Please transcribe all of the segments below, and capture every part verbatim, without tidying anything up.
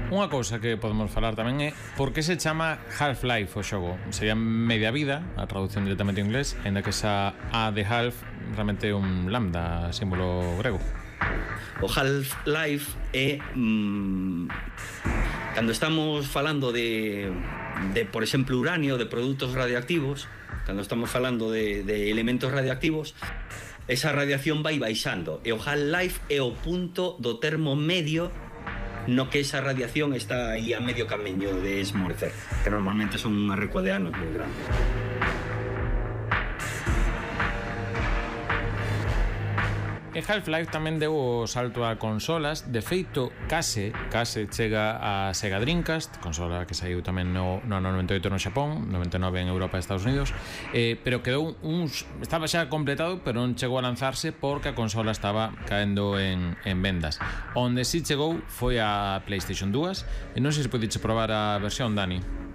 Unha cousa que podemos falar tamén é por que se chama Half-Life o xogo. Sería media vida, a traducción directamente en inglés, ainda que esa A de half realmente é un lambda, símbolo grego. O Half-Life é mmm, cando estamos falando de, de, por exemplo, uranio, de produtos radioactivos, cando estamos falando de, de elementos radioactivos, esa radiación vai baixando, e o Half-Life é o punto do termo medio no que esa radiación está aí a medio camiño de esmorecer, que normalmente son unha recua de anos moi grande. E Half-Life tamén deu o salto a consolas. De feito, case, case chega a Sega Dreamcast, consola que saiu tamén no, no noventa e oito no Xapón, noventa e nove en Europa e Estados Unidos, eh, pero quedou uns... estaba xa completado, pero non chegou a lanzarse porque a consola estaba caendo en, en vendas. Onde si chegou foi a PlayStation dúas, e non sei se podiche probar a versión, Dani.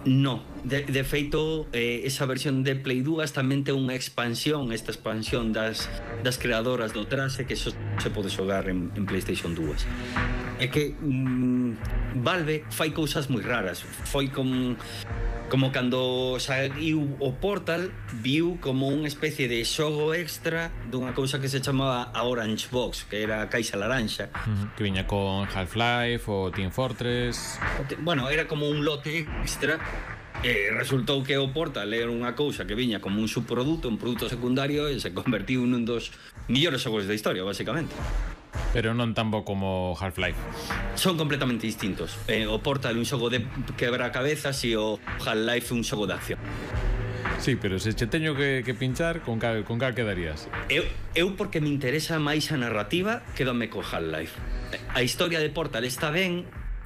No, de, de feito, eh, esa versión de Play dúas tamén ten unha expansión, esta expansión das, das creadoras do Trase, que eso se pode xogar en, en PlayStation dúas. É que mm, Valve fai cousas moi raras. Foi como, como cando saiu o Portal, viu como unha especie de xogo extra dunha cousa que se chamaba a Orange Box, que era a caixa laranxa. Uh-huh. Que viña con Half-Life o Team Fortress. Bueno, era como un lote extra. E resultou que o Portal era unha cousa que viña como un subproduto, un produto secundario, e se convertiu nun dos millores xogos da historia, basicamente. Pero non tan bo como Half-Life. Son completamente distintos. eh, O Portal é un xogo de quebracabezas e o Half-Life é un xogo de acción. Sí, pero se che teño que, que pinchar, con cal, con cal quedarías? Eu, eu porque me interesa máis a narrativa, quédame co Half-Life. A historia de Portal está ben,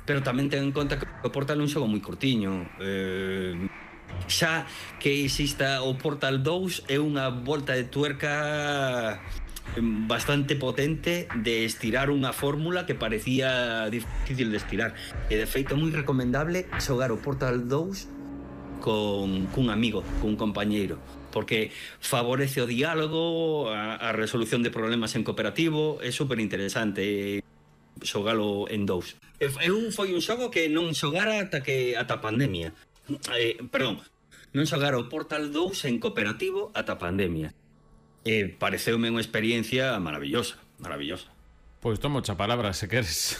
pero tamén ten en conta que o Portal é un xogo moi curtiño. Eh, xa que exista o Portal dous é unha volta de tuerca bastante potente de estirar unha fórmula que parecía difícil de estirar. E de feito é moi recomendable xogar o Portal dous con cun amigo, cun compañeiro, porque favorece o diálogo, a, a resolución de problemas en cooperativo, é super interesante xogalo en dous. Eu foi un xogo que non xogara ata que ata a pandemia. Eh, perdón, non xogara o Portal dous en cooperativo ata a pandemia. Eh, pareceume unha experiencia maravillosa, maravillosa. Pois tomo xa palabra, se queres.